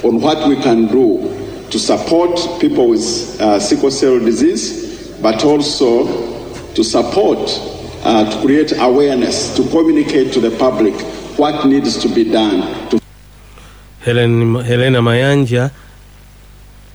On what we can do to support people with sickle cell disease, but also to support, to create awareness, to communicate to the public what needs to be done. To Helena Mayanja,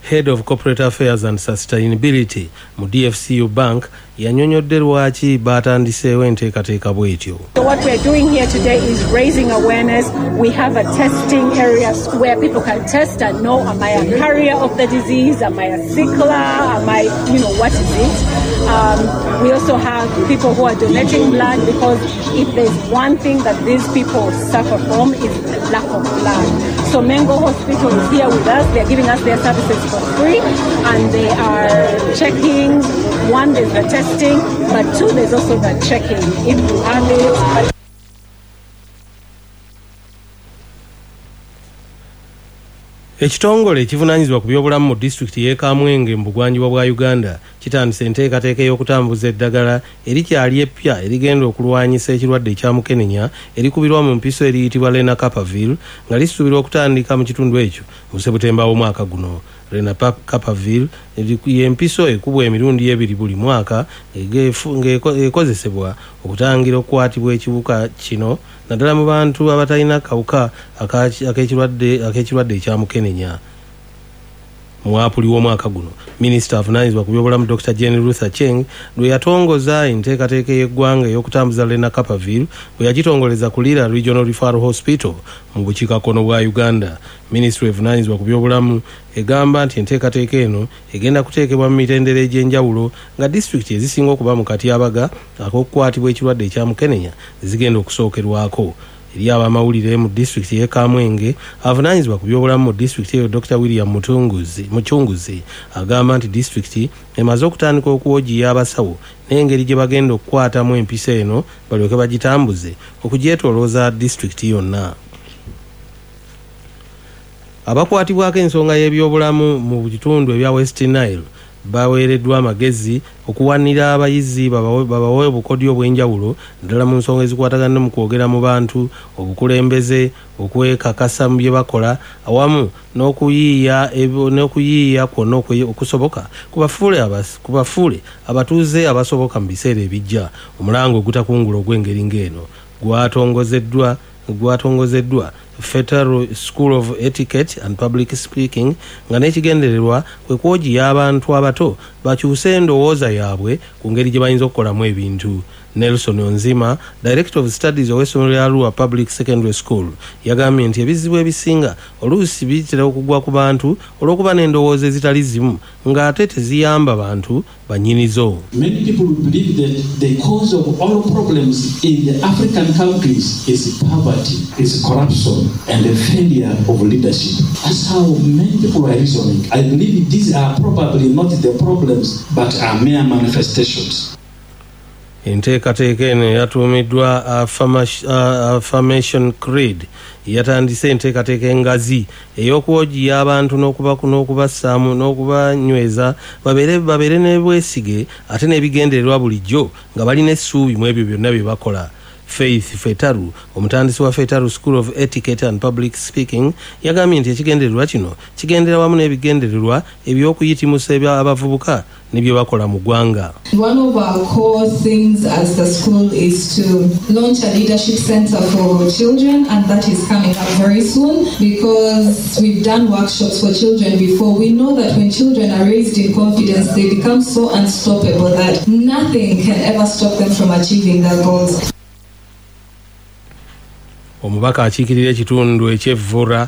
Head of Corporate Affairs and Sustainability mu DFCU Bank, yannyonnyodde lwaki batandiseewo enteekateeka bw'etyo. So what we're doing here today is raising awareness. We have a testing area where people can test and know, am I a carrier of the disease? Am I a sickler? Am I, what is it? We also have people who are donating blood, because if there's one thing that these people suffer from is the lack of blood. So Mengo Hospital is here with us. They're giving us their services for free, and they are checking. One, there's the testing, but two, there's also the checking if you have it. Ekitongole ekivunaanyizibwa ku byobulamu mu disitulikiti y'e Kamwenge mu bugwanjuba bwa Uganda kitandise enteekateeka ey'okutambuza eddagala erikyali eppya erigenda okulwanyisa ekirwadde ekya mukenenya erikubirwa mu mpiso eriyitibwa Lenacapavir, nga lisuubirwa okutandika mu kitundu ekyo mu Sebutemba w'omwaka guno. Lenacapavir y'empiso ekubwa emirundi ebiri buli mwaka ng'ekozesebwa okutangira okukwatibwa ekiwuka kino, naddala mu bantu abatalina kawuka ak'ekirwadde ekya mukenenya. Mu Apuli w'omwaka guno, minisita avunaanyizibwa ku byobulamu Dr. Jane Ruth Aceng lwe yatongoza enteekateeka y'eggwanga ey'okutambuza Lenacapavir bwe yagitongoleza ku Lira Regional Referral Hospital mu bukiikakkono bwa Uganda. Minisitule evunaanyizibwa ku byobulamu egamba nti enteekateeka eno egenda kuteekebwa mu mitendera egy'enjawulo, nga disitulikiti ezisinga okuba mu katyabaga ak'okukwatibwa ekirwadde ekya mukenenya zigenda okusookerwako. Eri abamawulire mu disitulikiti y'e Kamwenge, avunaanyizibwa ku byobulamu mu disitulikiti eyo Dr. William Muchunguzi agamba nti disitulikiti emaze okutandika okuwojiya abasawo n'engeri gye bagenda okukwatamu empiso eno balyoke bagitambuze okugyetoolooza disitulikiti yonna. Abakwatibwako ensonga y'ebyobulamu mu bitundu ebya West Nile baweereddwa amagezi okuwanira abayizi babawe obukodyo obw'enjawulo, naddala mu nsonga ezikwatagana mu kwogera mu bantu, obukulembeze, okwekakasa mu bye bakola, awamu n'okuyiiya kwonna okusoboka kubafuule abatuuze abasoboka mu biseera ebijja. Omulango ogutakungula ogw'engeri ng'eno gwatongozeddwa Federal School of Etiquette and Public Speaking, nga n'ekigendererwa kwe kwojiya abantu abato bakyuse endowooza yaabwe ku ngeri gye bayinza okukolamu ebintu. Nelson Onzima, Director of Studies ow'essomero lya Arua Public Secondary School, yagambye nti ebizibu ebisinga oluusi bitera okugwa ku bantu olw'okuba n'endowooza ezitali zimu ng'ate teziyamba bantu bannyinizo. Many people believe that the cause of all problems in the African countries is poverty, is corruption, and the failure of leadership. That's how many people are reasoning. I believe these are probably not the problems, but are mere manifestations. Enteekateeka eno yatuumiddwa Affirmation Creed yatandise enteekateeka engazi ey'okwojiya abantu n'okubassaamu n'okubanyweza babeere n'obwesige ate n'ebigendererwa bulijjo nga balina essuubi mu ebyo byonna bye bakola. Faith Fetaru, omutandisi wa Fetaru School of Etiquette and Public Speaking, yagambye nti ekigendererwa kino kigendera wamu n'ebigendererwa eby'okuyitimusa abavubuka ne bye bakola mu ggwanga. One of our core things as the school is to launch a leadership center for children, and that is coming up very soon, because we've done workshops for children before. We know that when children are raised in confidence, they become so unstoppable that nothing can ever stop them from achieving their goals. Omubaka akiikirira ekitundu eky'Evvura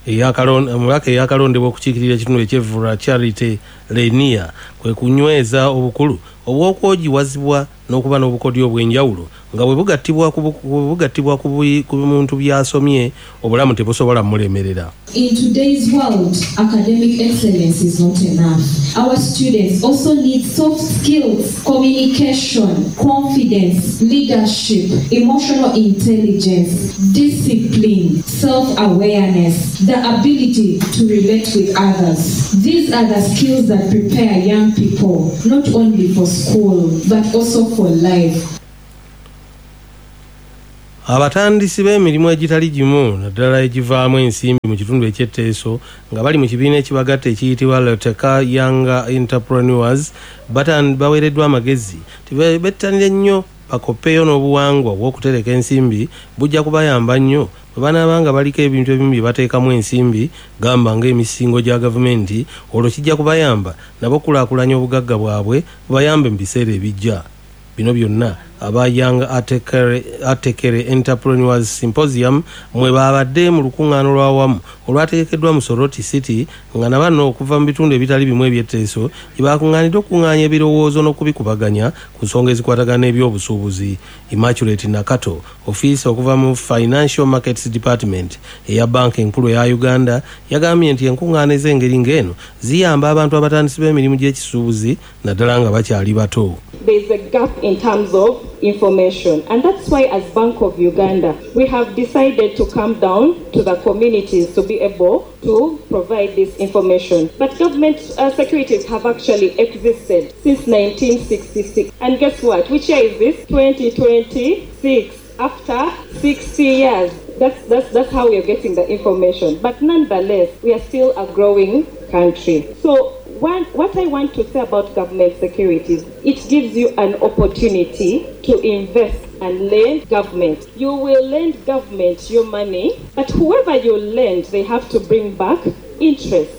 omubaka eyakalondebwa okukiikirira ekitundu eky'Evvura Charity Lenia kwe kunyweza obukulu obw'okwojiwazibwa n'okuba n'obukodyo obw'enjawulo nga bwe bugattibwa ku muntu by'asomye obulamu tebusobola mulemerera. In today's world, academic excellence is not enough. Our students also need soft skills, communication, confidence, leadership, emotional intelligence, discipline, self-awareness, the ability to relate with others. These are the skills that prepare young people not only for school but also for life. Abatandisi b'emirimu egitali gimu naddala egivaamu ensimbi mu kitundu eky'Etteeso nga bali mu kibiina ekibagatta ekiyitibwa Loteka Young Entrepreneurs baweereddwa amagezi bettanire nnyo bakoppeyo n'obuwangwa obw'okutereka ensimbi bujja kubayamba nnyo bwe banaaba nga baliko ebintu ebimu bye bateekamu ensimbi, gamba ng'emisingo gya gavumenti, olwo kijja kubayamba nabo okulaakulanya obugagga bwabwe bubayambe mu biseera ebijja. Bino byonna aba Young Atekere Entrepreneurs Symposium mwe babadde mu lukuŋŋaana olw'awamu olwategekeddwa mu Soroti City, nga na bano okuva mu bitundu ebitali bimu eby'Etteeso gye bakuŋŋaanidde okukuŋŋaanya ebirowoozo n'okubikubaganya ku nsonga ezikwatagana n'ebyobusuubuzi. Immaculate Nakato, ofiisa okuva mu Financial Markets Department eya Banka Enkulu eya Uganda, yagambye nti enkuŋŋaana ez'engeri ng'eno ziyamba abantu abatandisi b'emirimu gy'ekisuubuzi naddala nga bakyali bato. There's a gap in terms of information, and that's why as Bank of Uganda we have decided to come down to the communities to be able to provide this information. But government securities have actually existed since 1966, and guess what? Which year is this? 2026. After 60 years. That's how we are getting the information. But nonetheless, we are still a growing country. So what I want to say about government securities, it gives you an opportunity to invest and lend government. You will lend government your money, but whoever you lend, they have to bring back interest.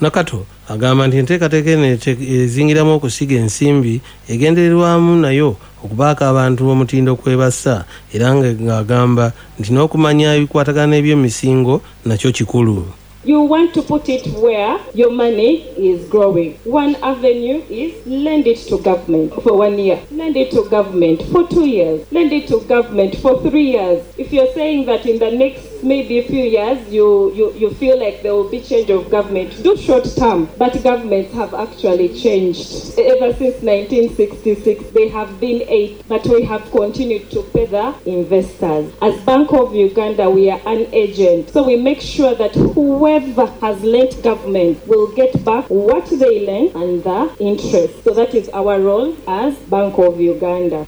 Nakato agamba nti enteekateeka eno ezingiramu okusiga ensimbi egendererwamu nayo okubaako abantu omutindo kwebassa, era ng'agamba nti n'okumanya ebikwatagana n'ebyemisingo nakyo kikulu. You want to put it where your money is growing. One avenue is lend it to government for 1 year, lend it to government for 2 years, lend it to government for 3 years. If you're saying that in the next maybe a few years you feel like there will be change of government, do short term. But governments have actually changed. Ever since 1966, they have been 8, but we have continued to pay the investors. As Bank of Uganda, we are an agent. So we make sure that whoever has lent government will get back what they lent and the interest. So that is our role as Bank of Uganda.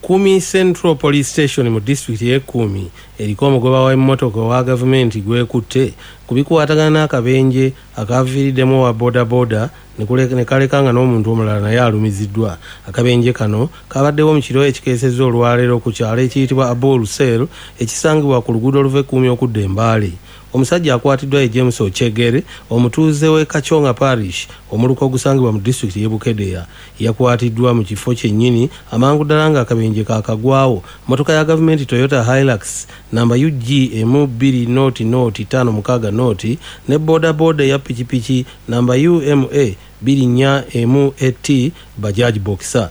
Kumi Central Police Station mu disitulikiti y'e Kumi eriko omugoba w'emmotoka owa gavumenti gwekutte ku bikwatagana n'akabenje akaviiriddemu owa bodaboda ne kaleka nga n'omuntu omulala naye alumiziddwa. Akabenje kano kabaddewo mu kiro ekikeesezza olwaleero ku kyalo ekiyitibwa Abul Cell ekisangibwa ku luguudo oluva e Kumi okudda e Mbale. Omusajja akwatiddwa ye James Ochegere, omutuuze w'e Kachonga Parish, omuluka ogusangibwa mu disitulikiti y'e Bukedea. Yakwatiddwa mu kifo kyennyini amangu ddala nga akabenje kaakagwawo. Mmotoka ya gavumenti Toyota Hilux namba UG M20056 ne bodaboda eya pikipiki namba UMA 24 MET Bajaj Boxer.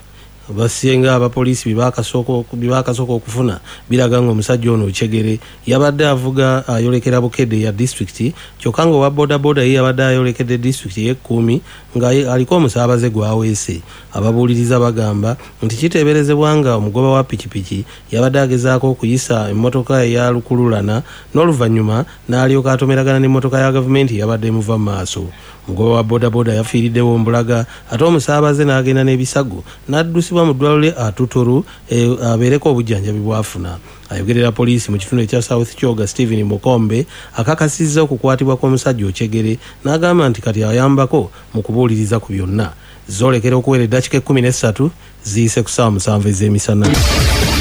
Abasinga abapoliisi bye baakasooka okufuna biraga ng'omusajja ono Ochegere yabadde avuga ayolekera Bukedde ya disitulikiti, kyokka ng'owa bodaboda ye yabadde ayolekedde disitulikiti y'e Kumi nga aliko omusaabaze gw'aweese. Ababuuliriza bagamba nti kiteeberezebwa nga omugoba wa pikipiki yabadde agezaako okuyisa emmotoka eya lukululana n'oluvannyuma n'alyoka atomeragana n'emmotoka ya gavumenti eyabadde emuva mu maaso. Omugoba wa bodaboda yafiiriddewo mbulaga, ate omusaabaze n'agenda n'ebisago n'addusibwa mu ddwaliro lye Atuturu abeereko obujjanjabi bw'afuna. Ayogerera poliisi mu kitundu ekya South Kyoga, Stephen Mukombe, akakasizza okukwatibwa kw'omusajja Ochegere n'agamba nti kati ayambako mu kubuuliriza ku byonna. Zoolekera okuwera eddakiika 13 ziyise ku ssaawa 7 ez'emisana.